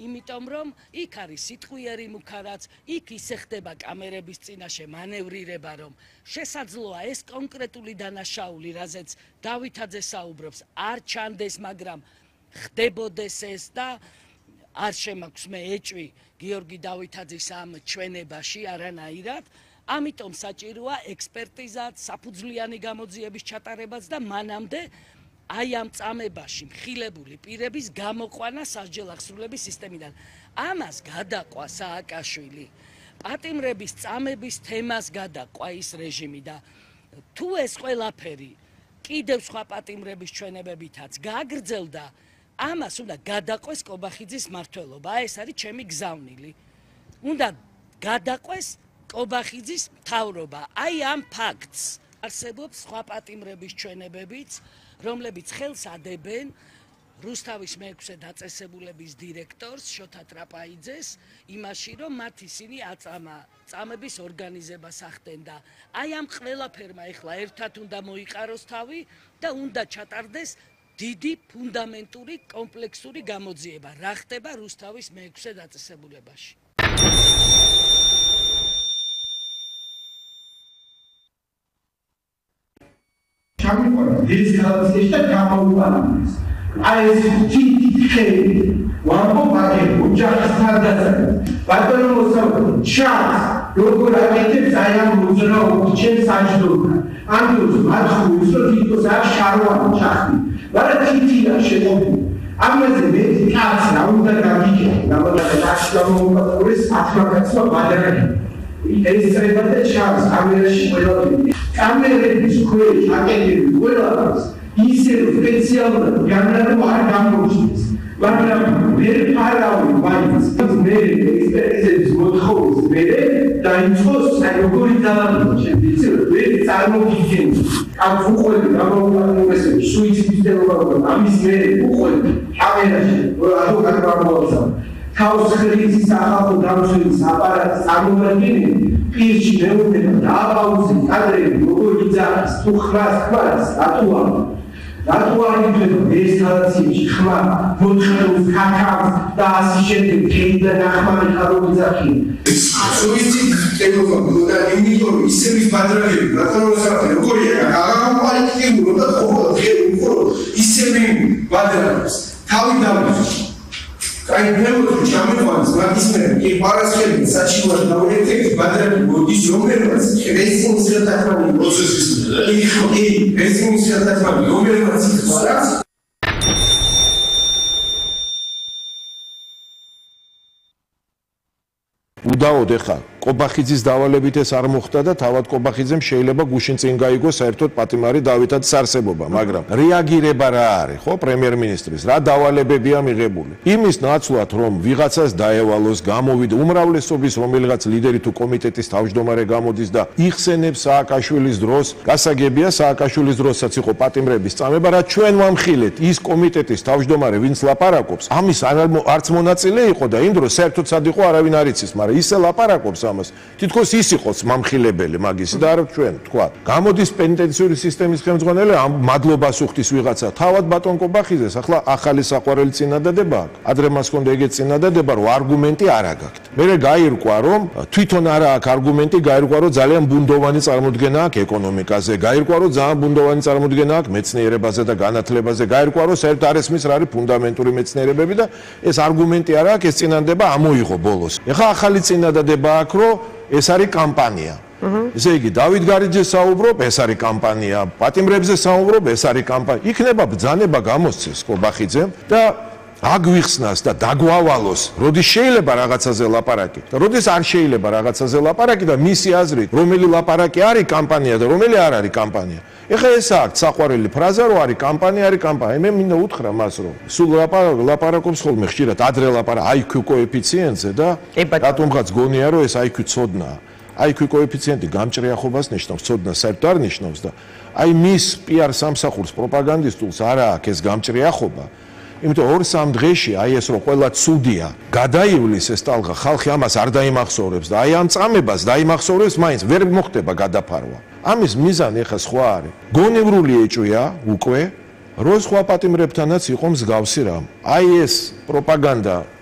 იმიტომ რომ იქ არის სიტყვიერი მუქარაც, იქ ისე ხდება კამერების წინაშე მანევრირება, რომ შესაძლოა ეს კონკრეტული დანაშაული, რაზეც დავითაძე საუბრობს, არ ჩანდეს, მაგრამ ხდებოდეს ეს და არ შემაქვს მე ეჭვი გიორგი დავითაძის ამ ჩვენებაში არანაირად. ამიტომ საჭიროა ექსპერტიზაც, საფუძვლიანი გამოძიების ჩატარებაც და მანამდე აი ამ წამებაში მხილებული პირების გამოყვანა სასჯელ აღსრულების სისტემიდან. ამას გადაყვა სააკაშვილი. პატიმრების წამების თემას გადაყვა ის რეჟიმი და თუ ეს ყველაფერი კიდევ სხვა პატიმრების ჩვენებებითაც გაგრძელდა, ამას უნდა გადაყვეს კობახიძის მმართველობა. ეს არის ჩემი გზავნილი. უნდა გადაყვეს კობახიძის მთავრობა. აი ამ ფაქტს არსებობს სხვა პატიმრების ჩვენებებიც, რომლებიც ხელს ადებენ რუსთავის მეექვსე დაწესებულების დირექტორს შოთა ტრაპაიძეს იმაში, რომ მათ ისინი აწამა წამების ორგანიზებას ახდენ და აი ამ ყველაფერმა ეხლა ერთად უნდა მოიყაროს თავი და უნდა ჩატარდეს დიდი ფუნდამენტური კომპლექსური გამოძიება, რა ხდება რუსთავის მეექვსე დაწესებულებაში. ჩამიყვანა ეს ქალაქის და გამოუყენეს. აი ეს თითქელი ვამბობ აქ ოჯახის თავდაცვა. ბატონო მოსაუბრე, ჩანს როგორ აკეთებს აი ამ მოძრაობას ჩემს საჯდომად. ამ დროს მათ ხუს რომ თვითონ არ შარვან ჩახდი. მაგრამ თითია შეყობილი. ამაზე მე კაც რა უნდა გაგიქე, რამოდენად აქ გამოუყურეს ათმაგაცმა ბადარები. ეს treba და ჩანს კამერაში ყველაფერი. კამერების ქვეშ აკეთებს ყველაფერს ისე სპეციალურად განაცხადა არ გამოჩნდეს. მაგრამ მე ფარავი მაინც მე ექსპერტიზების მოთხოვნის მერე დაიწყოს როგორი ძალადობა შემიძლია მე წარმოგიდგენ ამ უყურები გამოუყენეს სუიციდის დელობა ამის მერე უყურები კამერაში ადვოკატი გამოვაცა თავს ხრიზის ახალ დამცველის აპარატს წარმოგიდგენთ პირში მეუბნება დააპაუზე კადრები როგორ იძახის თუ ხრას ხვას რატოა რატო არ იწევ ესკალაციაში ხმა მოთხოვნს ქაქავს და ასე შემდეგ თეიდა ნახმარი ხარობიძახი სუიციდის დელობა და იმიტომ ისების ბადრაგები რატომოსახე როგორია აღამყალიფებულო და ხო ისები ბადრაგებს თავი დავიწყო აი ნებოთ ჩამეყვანს მაგისმერი კი პარასხელი საჩივარი დაუერთებს ბადრები მოდის რომელმაც რესინგის ხელთათმანი პროცესის კი რესინგის ხელთათმანი რომელმაც იხსნას უდაოდ ეხა კობახიძის დავალებით ეს არ მოხდა და თავად კობახიძემ შეიძლება გუშინ წინ გაიგო საერთოდ პატიმარი დავითაძის არსებობა, მაგრამ რეაგირება რა არის, ხო, პრემიერ-მინისტრის, რა დავალებებია მიღებული. იმის ნაცვლად, რომ ვიღაცას დაევალოს, გამოვიდა უმრავლესობის რომელიღაც ლიდერი თუ კომიტეტის თავმჯდომარე გამოდის და იხსენებს სააკაშვილის დროს, გასაგებია სააკაშვილის დროსაც იყო პატიმრების წამება, რაც ჩვენ ვამხილეთ, ის კომიტეტის თავმჯდომარე, ვინც ლაპარაკობს, ამის არც მონაწილე იყო და იმ დროს საერთოდ სად იყო არავინ არ იცის, მაგრამ ისე ლაპარაკობს თითქოს ის იყოს მამხილებელი მაგისი და არა ჩვენ თქვა. გამოდის პენიტენციური სისტემის ხელმძღვანელი ამ მადლობას უხდის ვიღაცა. თავად ბატონ კობახიძეს ახლა ახალი საყვარელი წინადადება აქვს. ადრე მას ჰქონდა ეგეთ წინადადება, რომ არგუმენტი არ აგაქვთ. მერე გაირკვა, რომ თვითონ არა აქვს არგუმენტი, გაირკვა, რომ ძალიან ბუნდოვანი წარმოდგენა აქვს ეკონომიკაზე, გაირკვა, რომ ძალიან ბუნდოვანი წარმოდგენა აქვს მეცნიერებაზე და განათლებაზე, გაირკვა, რომ საერთოდ არ ესმის რა არის ფუნდამენტური მეცნიერებები და ეს არგუმენტი არ აქვს, ეს წინადადება ამოიღო ბოლოს. ეხლა ახალი წინადადება აქვს, რომ ეს არის კამპანია. ესე იგი, დავით გარიძე საუბრობ, ეს არის კამპანია, პატიმრებზე საუბრობ, ეს არის კამპანია. იქნება ბრძანება გამოსცეს კობახიძემ და აგვიხსნას და დაგვავალოს, როდის შეიძლება რაღაცაზე ლაპარაკი და როდის არ შეიძლება რაღაცაზე ლაპარაკი და მისი აზრით, რომელი ლაპარაკი არის კამპანია და რომელი არ არის კამპანია. ეხლა ეს აქვს საყვარელი ფრაზა, რომ არის კამპანია, არის კამპანია. მე მინდა უთხრა მას, რომ სულ ლაპარაკობს ხოლმე ხშირად ადრე ლაპარაკ IQ კოეფიციენტზე და რატომღაც გონია, რომ ეს IQ ცოდნაა. IQ კოეფიციენტი გამჭრიახობას ნიშნავს, ცოდნას საერთოდ არ ნიშნავს და აი მის PR სამსახურს პროპაგანდისტულს არა აქვს ეს გამჭრიახობა. იმიტომ 2-3 დღეში აი ეს რომ ყველა ცუდია, გადაივლის ეს ტალღა, ხალხი ამას არ დაიმახსოვრებს და აი ამ წამებას დაიმახსოვრებს, მაინც ვერ მოხდება გადაფარვა. ამის მიზანი ახლა სხვა არის. გონევრული ეჭვია უკვე, რომ სხვა პატიმრებთანაც იყო მსგავსი რამ. აი ეს პროპაგანდა